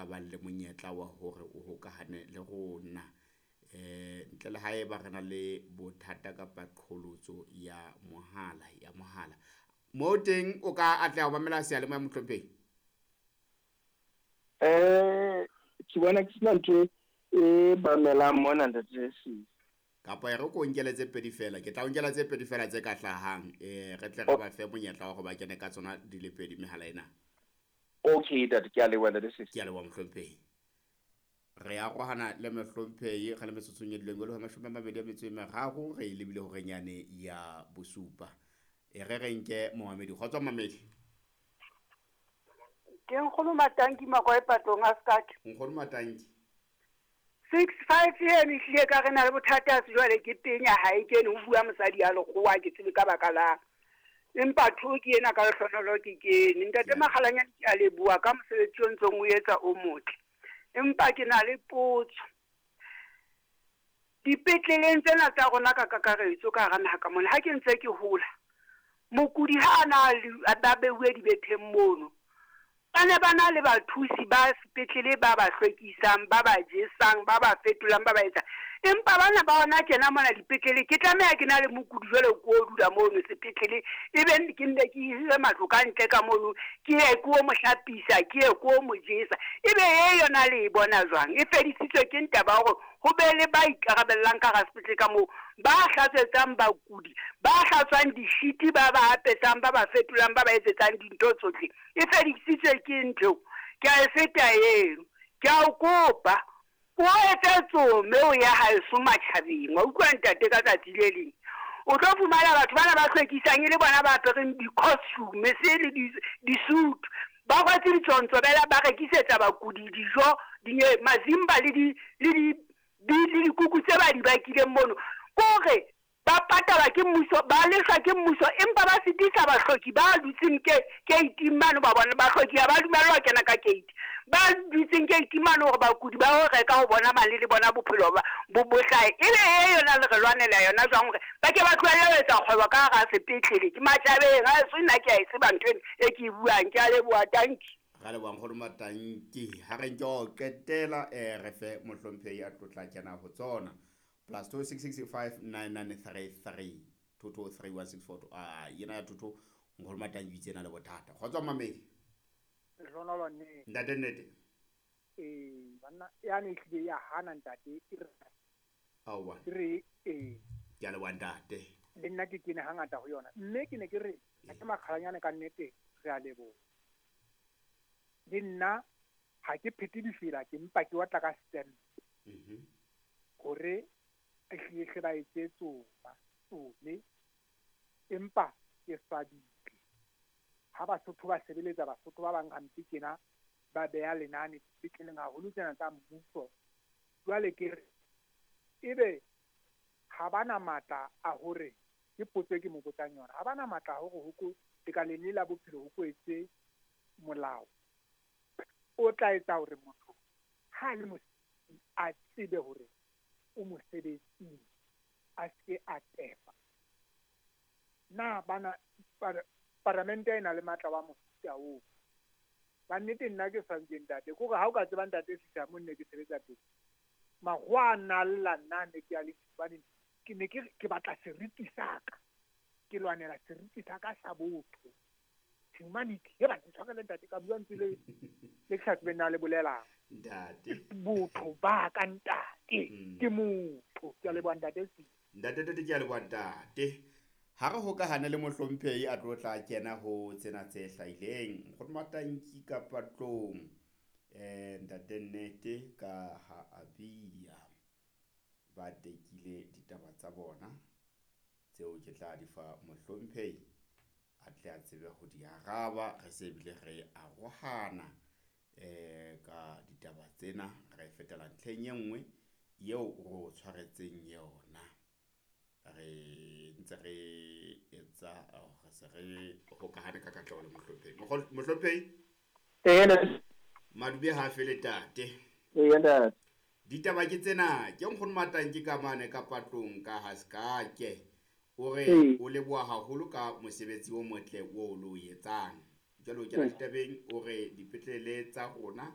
ka bang le monyetla wa hore o hokahane le rona. Ntle le haeba re na le bothata kapa qholotso ya mohala ya mohala. Mo teng o ka atleha ho mamela seyalemoya, mohlomphehi? Ke bona ke sena ntho e mamelang mona, ntate Sisi. Kapa e re ko nkele tse pedi fela, ke tla o nkela tse pedi fela tse ka hlahang, re tle re ba fe monyetla wa hore ba kene ka tsona di le pedi mehala ena. Okay ntate, ke a leboha, ntate Sisi. Ke a leboha, mohlomphehi. Re arohana le mohlomphehi re le metsotsong e dileng e le ho 23, re e lebile horeng yane ya bosupa. E re re nke momamedi. Kgotso mamedi. Ke Nkgono Matanki Makoe Patlong a Sekake. Nkgono Matanki. 65 eno ehlile ka re na le bothata se jwale ke tenya ha e kene ho bua mosadi ya lekgowa ke tsebe ka baka lang. Empa tho ke ena ka lehlonolo ke kene. Ntate Makgalanyane, ke a leboha ka mosebetsi o ntsong o etsa o motle. Empa ke na le potso. Dipetleleng tsena tsa rona ka kakaretso ka hara naha ka mona, ha ke ntse ke hola, mokudi ha a na ba beuwe dibetheng mono, ba ne ba na le bathusi ba sepetlele ba ba hlwekisang, ba ba jesang, ba ba fetolang, ba ba etsang. Empa bana ba hona tjena mona dipetlele, ke tlameha ke na le mokudi jwale ko dula mono sepetlele, ebe ke nne ke hire matlo ka ntle ka mono, ke ye ko mo hlapisa, ke ye ko mo jesa. Ebe e yona le e bona jwang? E fedisitswe ke ntaba hore ho be le ba ikarabellang ka hara sepetlele ka moo, ba hlatswetsang bakudi, ba hlatswang dishiti, ba ba apesang, ba ba fetolang, ba ba etsetsang dintho tsohle. E fedisitswe ke ntho. Ke a e feta eno. Ke a o kopa, o etse tsome o ya haeso matjhabeng. Wa utlwa ntate ka tsatsi le leng. O tlo fumana batho bana ba hlwekisang e le bona ba apereng di-costume se le di-suit. Ba rwetse ditsontsobela, ba rekisetsa bakudi dijo, mazimba le dikuku tse ba di bakileng mono. Kore ba patalwa ke mmuso, ba lefshwa ke mmuso, empa ba sitisa bahloki ba dutseng keiting mane ba bona. Bahloki ha ba dumellwa ho kena ka keiti. Ba dutseng keiting mane hore bakudi ba ho reka ho bona mane le bona bophelo ba bo hlahe. Ebe e yona le re lwanela yona jwang hore ba ke ba tlohelle ho etsa kgwebo ka hara sepetlele? Ke matjhabeng, ha eso nna ke a e tseba ntho eno e ke e buang. Ke a leboha, tanki. Ra leboha Nkgono Matanki. Ha re nke ho qetela, re fe mohlomphehi a tlotla kena ho tsona. +266 59933 2231642. Ah, yena ya thotho Nkgono Matanki o itse na le bothata. Kgotso mamedi. Lehlohonolo nnete. Ntate nnete. Banna yane ehlile ya hana ntate e re. Aowa. E re ee. Ke a leboha ntate. Le nna ke kene hangata ho yona. Mme ke ne ke re ke Makgalanyane ka nnete re a leboha. Le nna ha ke phete difela, ke mpa ke otla ka stamp. Hore ehlile hle ba etse tsoma, tsome. Empa ke swabile. Ha Basotho ba sebeletsa Basotho ba bang hampe tjena, ba beha lenane dipetleleng haholo tsena tsa mmuso. Jwale ke re ebe ha bana matla a hore, ke potso e ke mo botsang yona, ha bana matla a hore ho ko lekaleng le la bophelo ho ko etse molao o tla etsa hore motho ha le mosebetsing a tsebe hore o mosebetsing, a se a tefa. Na bana paramente e na le matla wa mofuta oo? Ba nnete nna ke swabile ntate, ke hore ha o ka tseba ntate Sisa mo nne ke sebetsa teng, makgowa a nna lla nna ne ke a le hobane ke ne ke ke batla seriti sa ka, ke lwanela seriti sa ka sa botho, humanity. He ba ntshwarele ntate, ka bua ntse le le ke sa tsebeng na le bolelang. Ntate. Botho ba ka ntate, ke motho. Ke a leboha ntate Sisa. Ntate ntate, ke a leboha ntate. Ha re hokahane le mohlomphehi a tlo tla kena ho tsena tse hlahileng. Nkgono Matanki ka Patlong. Ntate nnete ka ha a bia. Ba tekile ditaba tsa bona tseo ke tla di fa mohlomphehi a tle a tsebe ho di araba. Re se bile re arohana ka ditaba tsena, re fetela ntlheng e nngwe eo ro tshwaretseng yona. Re ntse re etsa re se re hokahane ka katleho le mohlomphehi. Mohlomphehi? Madube ha fele tate. Ee ntate. Ditaba ke tsena, ke Nkgono Matanki ka mane ka Patlong ka ha Sekake. O re o leboha haholo ka mosebetsi o motle o lo etsang. Jwale o kena ditabeng, o re dipetlele tsa rona